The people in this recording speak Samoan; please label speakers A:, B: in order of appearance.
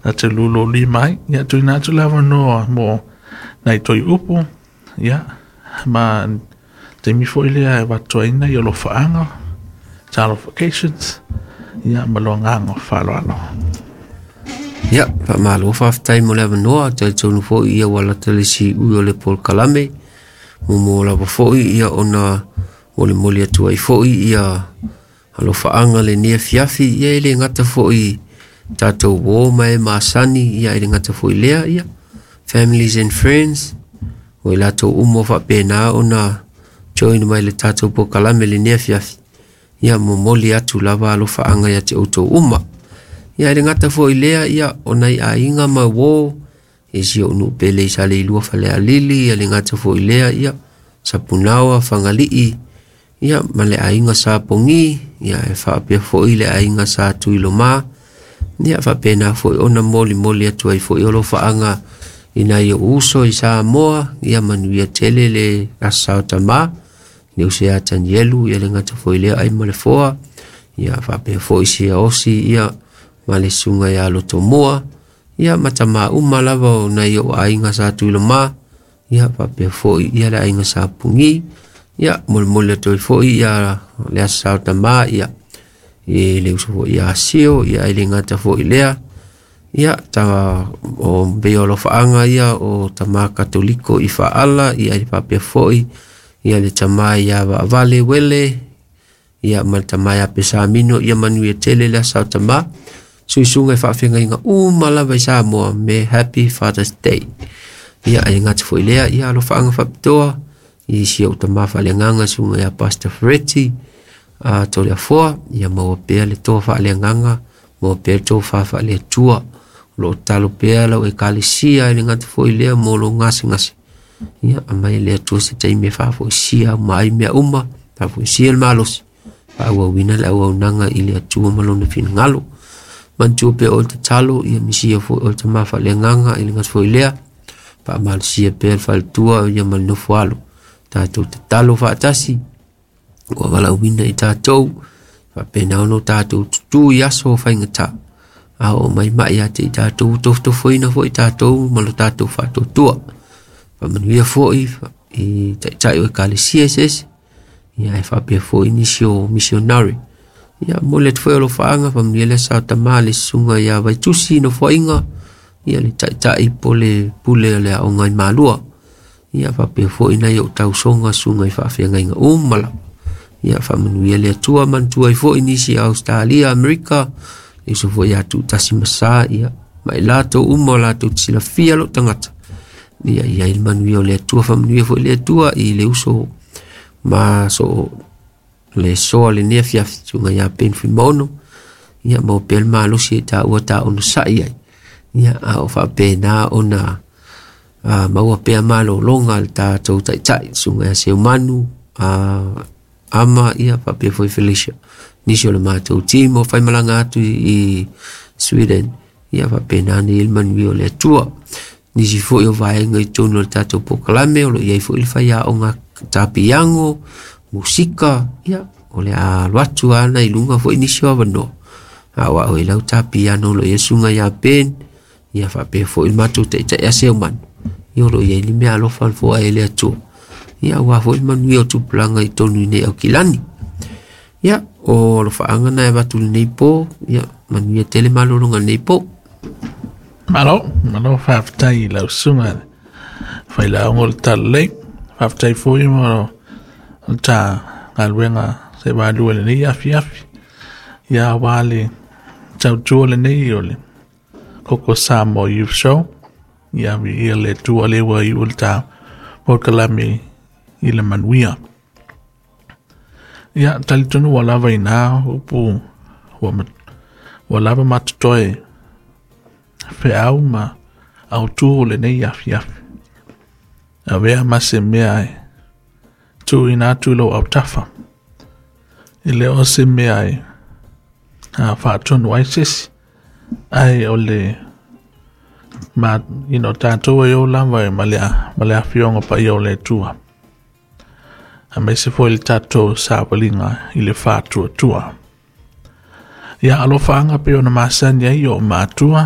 A: na te lulolima ai. Ia, tuuina atu le avanoa mo nai toe upu, ia, ma taimi foi lea e avatu ai nai alofaaga, talofications, ia, ma le agaga faaaloalo.
B: Ia, faamalo faafetai mo le avanoa. Talitonu foi ia ua lata le siui o le polokalame. Muamua lava foi ia ona molimoli atu ai foi ia alofaaga lenei afiafi. Ia e le gata foi tatou uo ma e masani, ia e le gata foi lea, ia families and friends, o i latou uma o faapena ona join mai le tatou polokalame lenei afiafi. Ia momoli atu lava alofaaga ia te outou uma. Ia e le gata foi lea, ia o nai aiga ma uo, i si ou nuu pele i Saleilua Falealili, ia le gata foi lea, ia Sapunaoa, Fagalii, ia ma le aiga sa Pogi, ia e faapea foi le aiga sa Tuiloma, ia faapena foi ona molimoli atu ai foi alofaaga i nai ou uso i Samoa, ia manuia tele le aso Sa o Tama, le uso ia Tanielu, ia le gata foi lea ai ma le foa, ia faapea foi sia osi, ia ma le susuga ia Lotomua, ia ma tama uma lava o nai ou aiga sa Tuiloma, ia faapea foi ia le aiga sa Pugi, ia molimoli atu ai foi ia le aso Sa o Tama, ia i le uso foi ia Sio, ia e le gata foi lea, ia ta o pei o alofaaga ia o tama Katoliko i Faala, ia e faapea foi ia le tama ia Vaavale Wele, ia ma le tama ia Pesamino, ia manuia tele le aso Sa o Tama. Suisuga e faafeagaiga uma lava i Samoa me Happy Father's Day. Ia e gata foi lea, ia alofaaga faapitoa i si ou tama faaleagaga susuga ia Pastor Ferretti a Toleafoa, ia maua pea le toa faaleagaga, maua pea le tofa faaleatua. O lo o tatalo pea lau ekalesia e le gata foi lea mo lo gasegase. Ia aumai le Atua se taimi e faafoisia uma ai mea uma, faafoisia le malosi, faaauauina le auaunaga i le Atua ma lona finagalo. Manatua pea oe le tatalo, ia misia foi oe le tama faaleagaga i le gata foi lea, faamalosia pea le faletua ia ma le nofo alo. Tatou tatalo faatasi, ua valaauina i tatou, faapena ona tatou tutu i aso o faigata. A oo mai mai ia te i tatou, tofotofoina foi tatou ma lo tatou faatuatua. Faamanuia foi i taitai o ekalesia eseese, ia e faapea foi nisi o missionary. Ia momoli atu foi alofaaga, faamanuia le aso Sa o Tama le susuga ia Vaitusi Nofoaiga, ia le taitai po le pule o le aoga i Malua. Ia faapea foi nai ou tausoga susuga i faafeagaiga uma lava. Ia faamanuia le Atua, manatua ai foi nisi o Australia, Amerika, le uso foi ia Tuutasi ma Sa, ia ma i latou uma o latou te silafia lou tagata. Ia i ai le manuia o le Atua, faamanuia foi le Atua i le uso ma so le soa lenei afiafi, susuga ia Ben Fuimaono, ia maua pea le malosi e taua ta onosai ai. Ia a o faapena ona maua pea malologa le tatou taitai, susuga ia Seumanu, Ama, ia faapea foi Felicia. Nisi o le matou team o faimalaga atu i Sweden, ia faapena ona i ai le manuia o le Atua. Nisi foi o vaega i totonu o le tatou polokalame, o lo o i ai foi le faiaoga tapiago, musika, ia, o le a alu atu lava i luga foi nisi o avanoa. A o au e lau tapiano o lo o i ai susuga ia Ben, ia faapea foi le matou taitai ia Seumanu, ia o lo o i ai le mea alofa na foai e le Atua. Ia aua foi le manuia o tupulaga i totonu i nei Aukilani. Ia, o alofaaga na e avatu i lenei po, ia manuia tele malologa i lenei po.
A: Malo, malo faafetai i lau susuga Failauga o le Talalelei. Faafetai foi mo le ta galuega se valua i lenei afiafi. Ia aua le tautua lenei o le Koko Samoa Youth Show. Ia viia le Atua lea ua iu le ta polokalame i le manuia. Ia, talitonu ua lava i na upu ua lava matotoe feau ma autu o lenei afiafi. Avea ma se mea e tuuina atu i lou autafa. E le o se mea e faatonu ai se isi, ae o le ma tatou e o lava e ma le afioga paia o le Atua. Aemaise foi le tatou savaliga i le faatuatua. Ia alofaaga pei ona masani ai o matua.